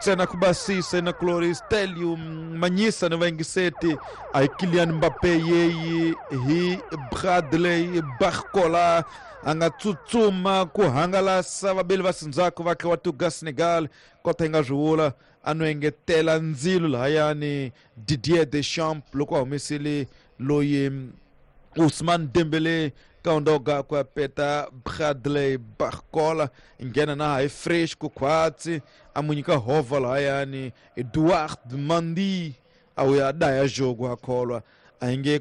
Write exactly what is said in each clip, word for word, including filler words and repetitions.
Ntsena ku basisa inakulori Stelio Manyisa ni vayingiseti a hi Kylian Mbappe yeyi hi Bradley Barcola a nga tsutsuma ku hangalasa vabeli va sindzhaku va wa tuga Senegal kota yi nga swi vula a no engetela ndzilo lahayani Didier Deschamps loko a humesile loyi Ousmane Dembele kaundoga ku ya peta Bradley Barcola nghena na hi fresh ku khwatsi a mu nyika hova lahayani Edouard Mendy a wuya daya jogo a kholwa a hi nge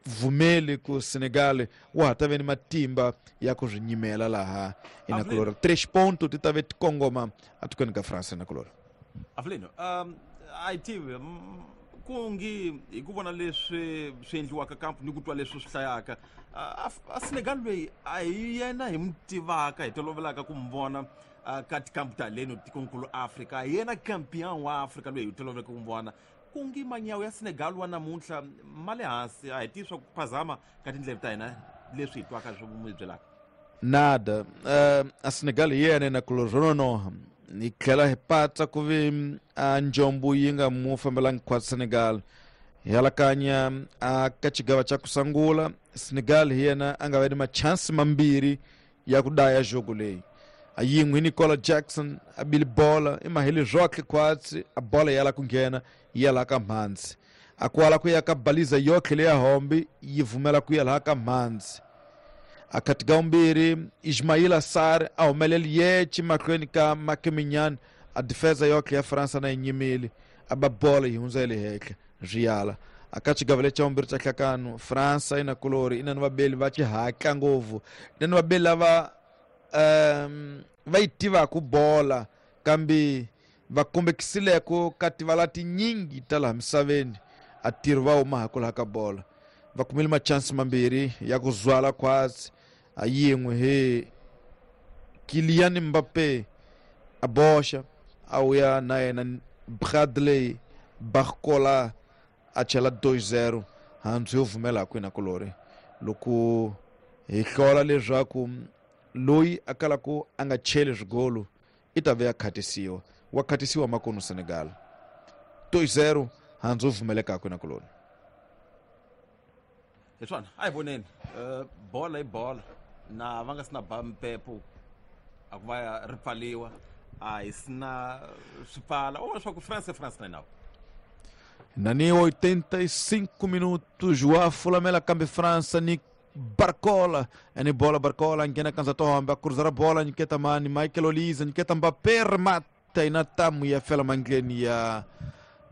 vumeli ku Senegal wa ha ta ve ni matimba ya ku swi nyimela laha inakulori tres ponto ti ta ve ti kongoma atikweni ka France inakulori. Avelino, um a yi tivi ku ngi hi ku vona leswi swi endliwaka kamp ni ku twa leswi swi hlayaka a Senegal loyi a hi yena hi mu tivaka hi tolovelaka ku mu vona ka tikampu ta leno tikonkulu Afrika hi yena champion wa Afrika loyi hi tolovelaka ku mu vona ku ngi manyawu ya Senegal wa namuntlha ma le hansi a hi tivi swa ku phazama ka tindleve ta hina leswi hi twaka swi mu byelaka nada. Uh, a Senegal hi yena inakulori swo nonoha hi tlhela hi patsa ku vi a njombo yi nga mu fambelangi khwatsi Senegal hi alakanya a ka xigava xa ku sungula Senegal hi yena a nga va ni machansi mambirhi ya ku daya jogo leyi a yin'we hi Nicola Jackson a bile bola i maheli zwoxe khwatsi a bola ya la ku nghena yi ya laha ka mhandzi a kwala ku ya ka baliza yotlhe leya hombi yi vumela ku ya laha ka mhandzi a khatika vumbirhi Ismaila Sarr a humeleli yece mahlweni ka Makeminyani a defensa yotlhe ya Fransa na yi nyimile a ba bola yi hundza ya le henhla swi yala a ka xigava lexi xa vumbirhi xa hlakano Fransa i na kulori i na ni vabeli va xihatla ngopfu i na ni vabeli lava um va yi tivaka bola kambe va kombekisileko ka tivala tinyingi ta laha misaveni a tirhi va huma ha ku laha ka bola va kumile machansi mambirhi ya ku zwala khwatsi a yin'we hi Kylian Mbappe a boxa a wuya na yena Bradley Barcola a chela two zero handzu yo vumela ku inakulori loko hi hlola leswaku loyi a kalaku a nga cheli swigolo i ta ve ya khatisiwa wa khatisiwa makunu Senegal two zero handzu yo vumeleka ku inakulori. Hi swona a hi voneni bola i bola na va nga si na ba mpepo a ku va ri pfaliwa a hi si na swi pfala u vona leswaku France France na nawu nani oitenta e cinco minutos wa fulamela kambe França ni Barcola ni bola Barcola nghena kanza tohombe a cruzar a bola nyiketa mani Michael Olise nyiketa Mbappé remata ina tamu ya fela mangleni ya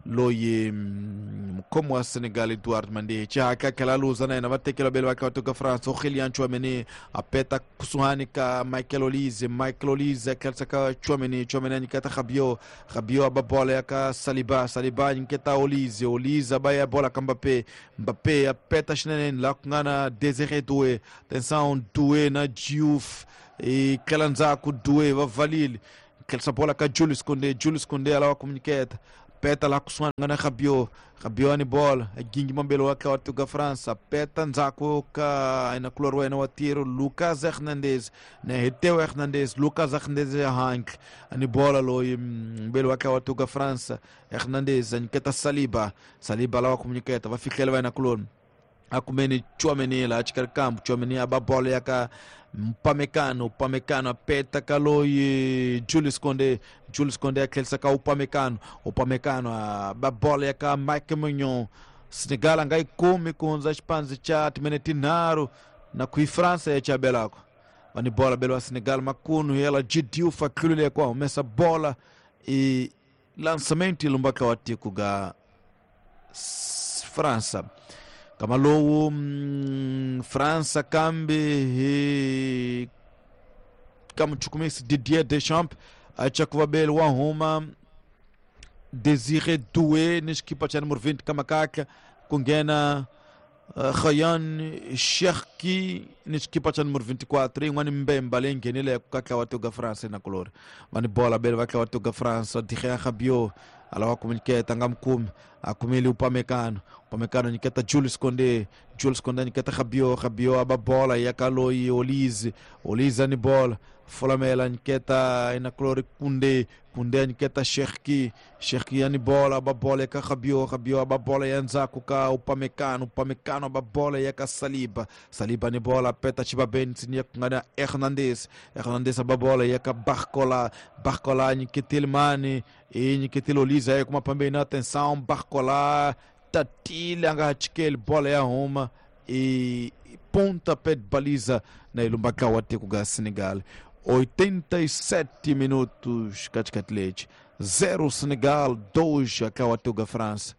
loyi mukhomi wa Senegal Edouard Mendy xihatla tlhela luza na yena va tekela vabeli va kha va tuka France Aurélien Tchouaméni a peta kusuhani ka Michael Olise Michael Olise a tlherisa ka Tchouaméni Tchouaméni a nyiketa Rabiot Rabiot a ba bola ya ka Saliba Saliba a nyiketa Olise Olise a ba ya bola ka Mbappé Mbappé a peta swinene laha ku nga na Désiré Doué atenção Doué na Diouf i tlela ndzhaku Doué va valile tlherisa bola ka Julius Koundé Julius Koundé a lava ku nyiketa peta laha kusuhani nga na Rabiot Rabiot ni bola gingi mambelo wa wa tuga França peta ndzhaku ka inakulori wa yena wa tiro Lucas Hernandez na hi Theo Hernandez Lucas Hernandez ya handle ni bola loyi mbelo wa wa tuga França Hernandez a nyiketa Saliba Saliba lava ku nyiketa va fihlela va inakulori a kumeni Tchouaméni laha xikarhi kambu Tchouaméni a ba bola ya ka Upamecano Upamecano a peta ka loyi Julius Koundé Julius Koundé a tlherisa ka Upamecano Upamecano a ba bola ya ka Mike Maignan Senegal a nga yi kumi ku hundza xipandzi xa timinete tinharhu na ku yi França ya chabelako va ni bola belo wa Senegal makunu yela Diouf a tlulile ku a humesa bola i lançamento lumbaka wa tiko ga França kama lowu mm, França kambe hi ka muchukumisi Didier Deschamps a tshakuvabeli wa huma Désiré Doué ni xikipa xa numero vinte ka makaka ku nghena uh, Rayan Cherki ni xikipa xa numero vinte e quatro yin'wani mbemba leyi nghenileke ka tlawa tiko ga France na kulori va ni bola bele va tlawa tiko ga France Adrien Rabiot Alawa kuminiketa nga mukumi akumile Upamecano. Upamecano nyiketa Jules Koundé. Jules Koundé nyiketa Rabiot. Rabiot aba bola ya kaloi Olise. Olise ni bola. Folamela nyiketa inaklori Koundé. Koundé nyiketa Cherki. Cherki ani bola aba bola ya Rabiot. Rabiot aba bola ya nzaku ka Upamecano. Upamecano aba bola ya ka Saliba. Saliba ni bola peta Chibabeni ya kungana Hernandez. Hernandez aba bola ya ka Barcola. Barcola nyiketil Mane. E nyiketil Olise aí com uma pambena, atenção, Barcola tatile angachikele bola ya Roma e pontapé de baliza na ilumbaka wa tekuga Senegal. oitenta e sete minutos katikati zero Senegal, dois akawa tekuga França.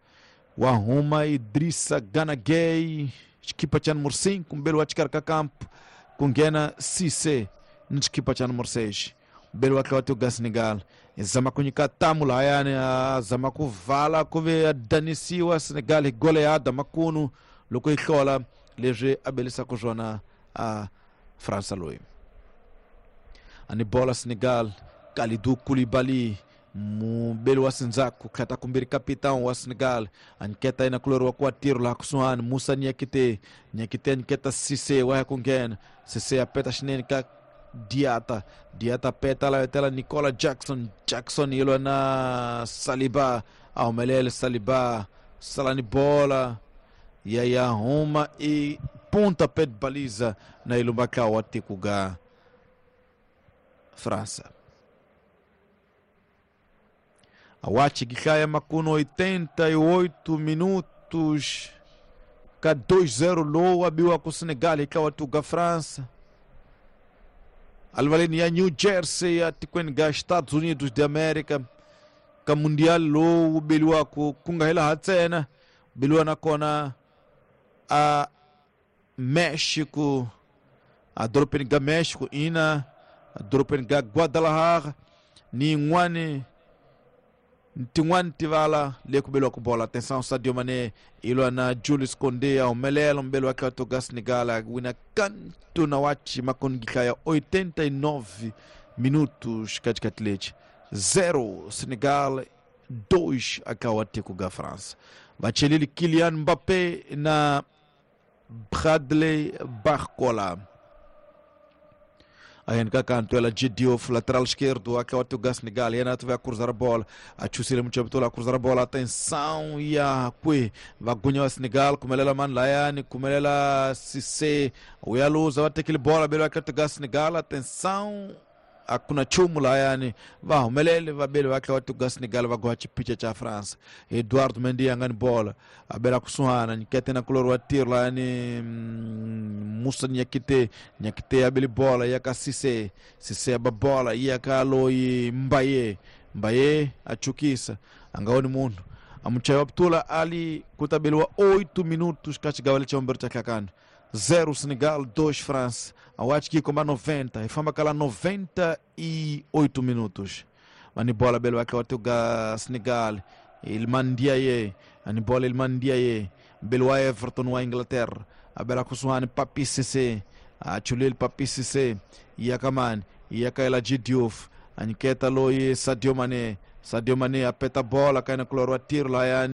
Wa Roma Idrissa Gana Gueye, equipa cha número cinco, mbele wa chikarka campo kungena Cissé, equipa cha número seis. Mbele wa tekuga Senegal. Zama kunyika tamu la yani zama kuvala kuve adanisiwa Senegal goleada makunu loko ihlola leswi abelisa kuzona a França loyi. Ani bola Senegal Kalidou Koulibaly mubeli wa Sinzaku khata kumbiri capitão wa Senegal anketa ina kulor wa kwatiro la kusuhan Musa Niakite Niakite anketa Cissé wa kungena Cissé apeta shinene ka Diata, Diata peta la tela Nicola Jackson, Jackson ilo na Saliba, aumelele Saliba, salani bola, ya ya Roma e ponta pé de baliza na ilumbaka wa tikuga França. Awachi gikaya makuno oitenta e oito minutos, ka dois zero low abiwa ku Senegal ikawa tuga França. Alvaleni ya New Jersey atikweni ga Estados Unidos de América ka mundial lo ubeliwa ku kungahela hatsena beliwa nakona a México a dropeni ga México ina a dropeni ga Guadalajara ni ngwane tin'wana tivala le ku beliwa ku bola. Atenção, Sadio Mané ilwa na Jules Koundé aumelela mbele wa toga Senegal wina kanto na wachi makongika ya oitenta e nove minutos katikati leche zero Senegal dois akawa tekuga France. Bachelili Kylian Mbappé na Bradley Barcola. Aí kanto ela Diouf, lateral esquerdo, aquela o Senegal, e vai cruzar a bola, a Chusile muito a cruzar a bola, atenção, e a que vai ganhar o Senegal, como ela man Laiane, como ela Cissé, o Yaluza, vai ter aquele bola, belo aquela o Senegal, atenção, a kuna chumu Laiane, vai o Melele, vai belo aquela o Senegal, vai gosta picha cha França, Eduardo Mendy angani bola, a bela kusuana, nikete na color wa tiro Laiane, Musa Niakite, Niakite abeli bola, yaka Cissé, Cissé aba bola, yaka loi Mbaye, Mbaye achukisa, angaoni mundu, amuchayo Abdullah Ali kutabeliwa oito minutos kachigawale cha Humberto Kakano. zero Senegal, dois França. Acho que com noventa, e fama cala noventa e oito minutos. Mani bola belo aqui o Senegal, Iliman Ndiaye, ani bola Iliman Ndiaye, belo Everton wa Inglaterra, a bela kusuane Papi Cissé, a chulil Papi Cissé, Yakaman, Yakaela Diouf, aniketa loi Sadio Mané, Sadio Mané apeta bola kaina kulorwa tiro la yani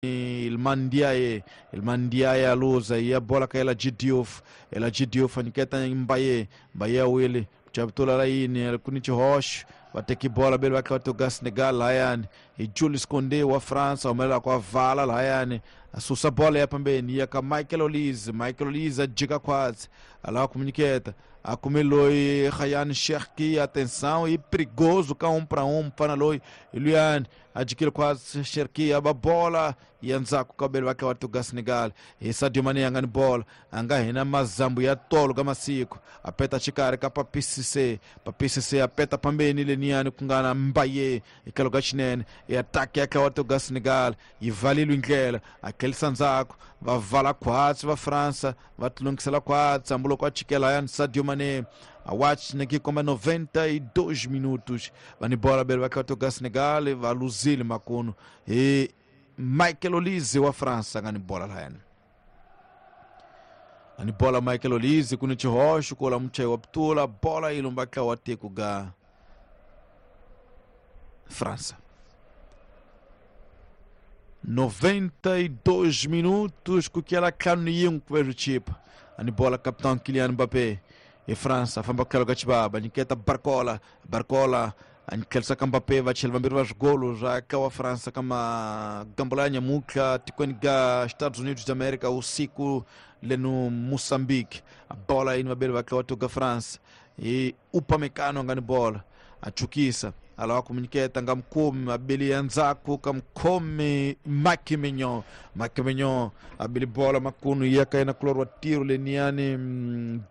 Iliman Ndiaye, Iliman Ndiaye aluza ya bola kaela Diouf, ela Diouf aniketa Mbaye, Mbaye wili chabtula laini alikunichi hosh wateki bola belo wakati Senegal layani e Jules Koundé wa França umela kwa vala layani asusa bola ya pambeni ya ka Michael Olise, Michael Olise ajika kwazi ala kumuniketa akumeloi Ryan Cherki, atenção e perigoso cá um para um panaloi Eliane adquire quase Cherki aba bola e anzaku kabelo wake watuga Senegal e Sadio Mané angani bola anga hina mazambu ya tolo kama siku apeta chikari ka Papi Cissé, Papi Cissé apeta pambeni leniani kungana Mbaye ikaloga chinene e ataque yake watuga Senegal e valilo indlela aquele sanzaku vavala quase va França vatulungisela quase ambulo kwa chikela yani Sadio Mané a watch naki koma noventa e dois minutos vani bola belo wakatoka Senegal va luzile makuno e Michael Olise wa França ngani bola la yani ani bola Michael Olise kuni chihosho kola mche wa ptula bola ilumbaka watekuga França. noventa e dois minutos kukiela ntlhanu ni yin'we ku ve chipa ani bola capitão Kylian Mbappé e França famba kutlhelo ka chibaba nyiketa Barcola Barcola a ka Mbappé va chela vambirhi va swigolo swa ka wa França ka magambo ya nyamutlha tikweni ga Estados Unidos da América usiku leno Moçambique a bola yini vabeli va tliwa tuka France e Upamecano nga ni bola a chukisa alawa kumunyiketa nga mukumi abili ya ndzhaku ka mukhomi Mike Maignan Mike Maignan abili bola makunu yaka yena kulori wa tiro leniyani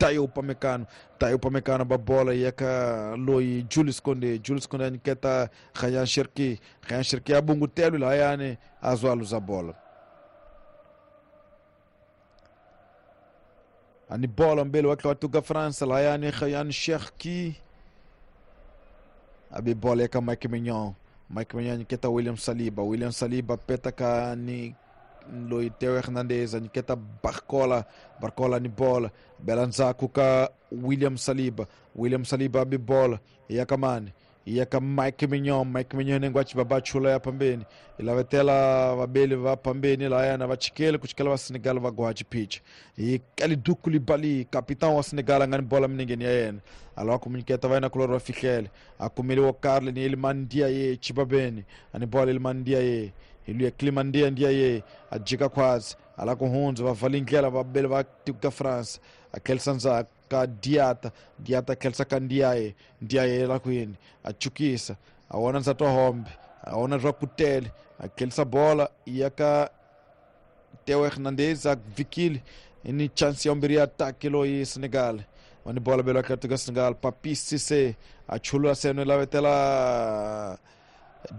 Dayo Upamecano Dayo Upamecano ba bola yaka loyi Julius Koundé Julius Koundé anyiketa Rayan Cherki Rayan Cherki abungutelo lahayani azwaluza bola ani bola mbele wa tuga França lahayani Rayan Cherki abi bola yaka Mike Maignan Mike Maignan nyiketa William Saliba William Saliba peta ka ni loyi Theo Hernandez nyiketa Barcola Barcola ni bola bela ndzhaku ka William Saliba William Saliba abi bola yaka mani yaka Mike Maignan Mike Maignan nengo achibaba chula ya pambeni ilavetela vabeli va pambeni lahayana va chikele kuchikela va Senegal va goha chipicha i Kalidou Koulibaly capitão wa Senegal a nga ni bola minengeni ya yena alawa kumunyiketa va yena kulori va fihlele a kumeliwa Karle ni Iliman Ndiaye chibabeni ani bola Iliman Ndiaye iluya Clément Ndiaye Ndiaye a jika khwazi ala ku hundza va vali ndlela vabeli va tiko ka France a khelisa ndzhaku ka Diata Diata khelisa ka Ndiaye Ndiaye la kwini a chukisa a wona ndzati wa hombe a wona swa kutele a khelisa bola ya ka Theo Hernandez a vikile ni chance ya mbirhi ya atake loyi Senegal wani bola belo ka tuka Senegal Papis Cissé a chulula seno lavetela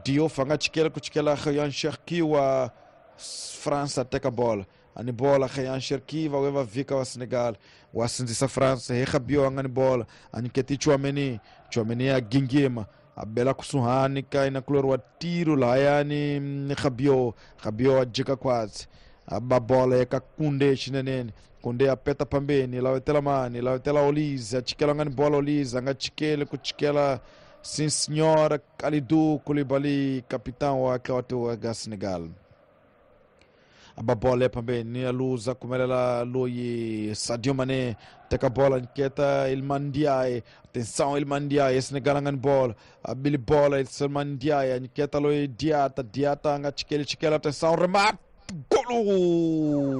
Diouf a nga chikela ku chikela Rayan Cherki wa França teka bola ani bola Rayan Cherki va va vika wa Senegal wa sindzisa França hi Rabiot a nga ni bola anyiketi Tchouaméni Tchouaméni a gingima a bela kusuhani ka ina kulori wa tiro lahayani Rabiot Rabiot a jika khwazi a ba bola eka Koundé xinenene Koundé a peta pambeni lavetela mani lavetela Olise a chikela nga ni bola Olise a nga chikeli ku chikela Sim senhora Kalidou Koulibaly capitão wa wa ga Senegal aba bola pambeni a luza kumelela loyi Sadio Mané teka bola nketa Iliman Ndiaye atenção Iliman Ndiaye Senegal nga ni bola abili bola Iliman Ndiaye nketa loyi Diata Diata nga chikeli chikela atenção remate golo.